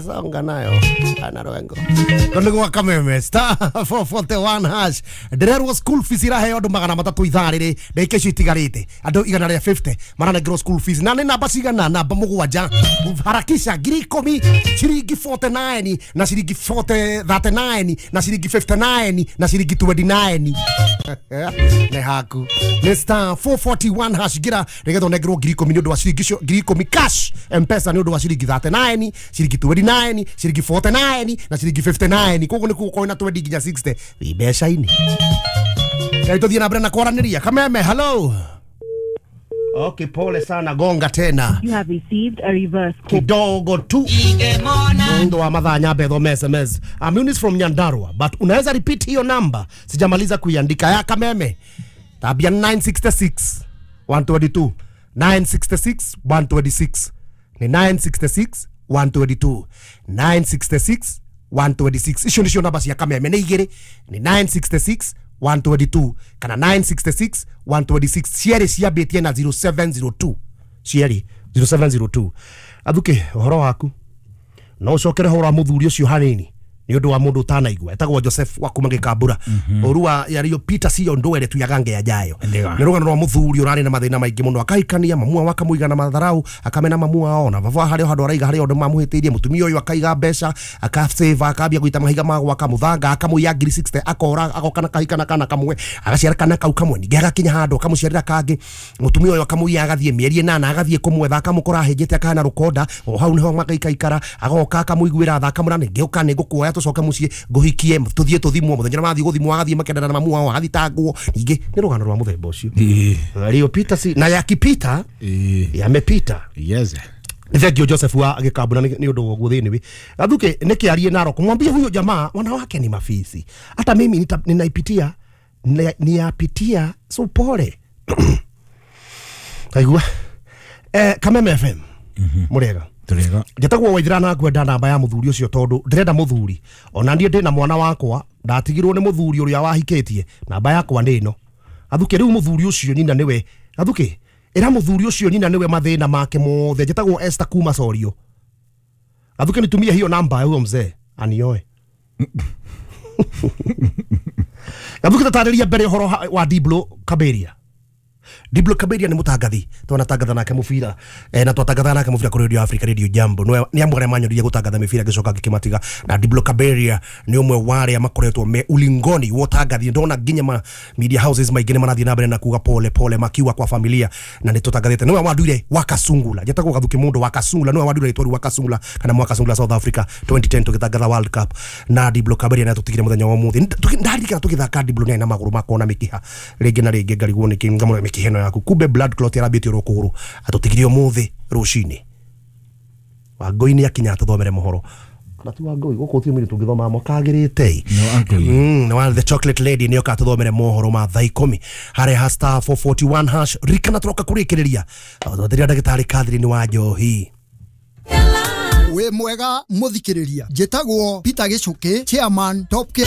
Songa nayo ana rwengo kondo gwa Kameme star 441 hash ndirerwo school fees iraheo andu 300 ithaa riri ndagika icio itigarite andu 150 maranengerwo school fees na nĩ namba cigana namba 7 harakisha 10,000 ciringi 49 na ciringi 39 na ciringi 59 na ciringi 29 nĩ haku nĩ star 441 hash gira nigetha unengerwo 10,000 nĩ ũndũ wa ciringi icio 10,000 cash mpesa nĩ ũndũ wa ciringi 39 ciringi 29 ciringi 49 na ciringi 59 koguo nĩ gũkorwo na 20 nginya 60 wĩ mbeca-inĩ. Ngai tũthiĩ na mbere na kwaranĩria. Kameme, hello. Okay, pole sana, gonga tena. You have received a reverse call. Kidogo tu ndo wa madhaa nyambe thome SMS. I'm Eunice from Nyandarua, but unaweza repeat hiyo namba, sijamaliza kuiandika. Ya Kameme tabia 966 122 966 126 ni 966 122 966 126 icio nicio namba cia Kameme nĩ igĩrĩ, ni 966 122 kana 966 126 cierĩ ciambĩtie na 0702 cierĩ 0702. Athuke ũhoro waku no ũcokere ũhoro wa mũthuri ũcio hanini nĩ ũndũ wa mũndũ ũtanaigua etagwo Joseph wa kuma Gĩkambura ũru wa yaliyopita siyo ndwere tu yagange yajayo. Nĩ rũgano rwa mũthuri ũrarĩ na mathĩna maingĩ mũno, akahikania mamu wao akamũiga na matharau, akamena mamu wao na baba harĩa handũ araiga harĩa ũndũ mamũhĩtĩirie mũtumia ũyũ akaiga mbeca akasave akambia gũita mahiga ma gwaka mũthanga akamũiya 60,000 akora agoka na kahika kana kamwe agaciara kana kau kamwe ningĩ agakinya handũ akamũciarĩra kangĩ mũtumia ũyũ akamũiya agathiĩ mĩeri ĩnana agathiĩ kũmwetha akamũkora ahĩnjĩte akahana rũkonda o hau nĩho magaikaikara agoka akamũiguĩra tha akamũra nĩngĩũka nĩngũkuoya tucoke muciĩ ngũhikie tuthiĩ tũthimwo mũthenya mathiĩ gũthimwo agathiĩ makendana na mamu wao agathitangwo ningĩ nĩ rũgano rwa mũthemba ũcio yaliyopita si na yakipita yamepita. Yes. Thank you Joseph wa Gĩkambura nĩ ũndũ wa ũguo thĩinĩ wi Gathuke nĩkĩarie Narok mwambie huyo jamaa wanawake ni mafisi, hata mimi ninaipitia niyapitia, so pole. Kaigua Kameme FM mũrĩega Tũrĩega. Njĩtagwo Waithira na ngwenda namba ya mũthuri ũcio tondũ ndĩrenda mũthuri ona niĩ ndĩna mwana wakwa ndatigirwo nĩ mũthuri ũrĩa wahikĩtie, namba yakwa nĩ ĩno. Gathuke rĩu mũthuri ũcio nyina nĩwe Gathuke ĩra mũthuri ũcio nyina nĩwe mathĩna make mothe. Njĩtagwo Esther kuma Sorio. Gathuke nitumie hiyo namba ya huyo mzee anioe. Gathuke tatarĩria mbere ũhoro wa Diblo Kaberia. Diblo Kaberia ni mutangathi twanatangatha nake mubira na twatangatha nake mubira kuri Radio Africa Radio Jambo ni amwe aria manyoririe gutangatha mibira gicoka ngikimatiga na Diblo Kaberia ni umwe wa aria makoretwo me ulingoni wa utangathi ndona nginya ma media houses maingi ni marathie na mbere na kuga pole pole makiwa kwa familia na ni tutangathite niwe wanduire Wakasungula njetagwo Gathuki mundu Wakasungula niwe wanduire itwaru Wakasungula kana Mwakasungula South Africa 2010 tugitangatha World Cup na Diblo Kaberia na tutigire muthenya wa muthi ndarikana tugithaka Diblo na maguru makona mikiha ringi na ringi ngarigwo niki ngamura mikiha ĩno yaku kumbe blood clot yarambĩtie oro kũgũrũ atũtigirie ũmũthĩ rũcinĩ. Wangũi nĩ akinya atũthomere mohoro kana ti Wangũi gũkũ ti mũirĩtu ũngĩthoma mwakagĩrĩte no the chocolate lady nĩoka atũthomere mohoro ma thaa 10 harĩa ha star 441 hash rikana tũroka kũrĩkĩrĩria twatĩria ndagĩtarĩ Catherine wa Njohi. Wĩ mwega mũthikĩrĩria, njĩtagwo Peter Gĩcũkĩ, chairman Top K.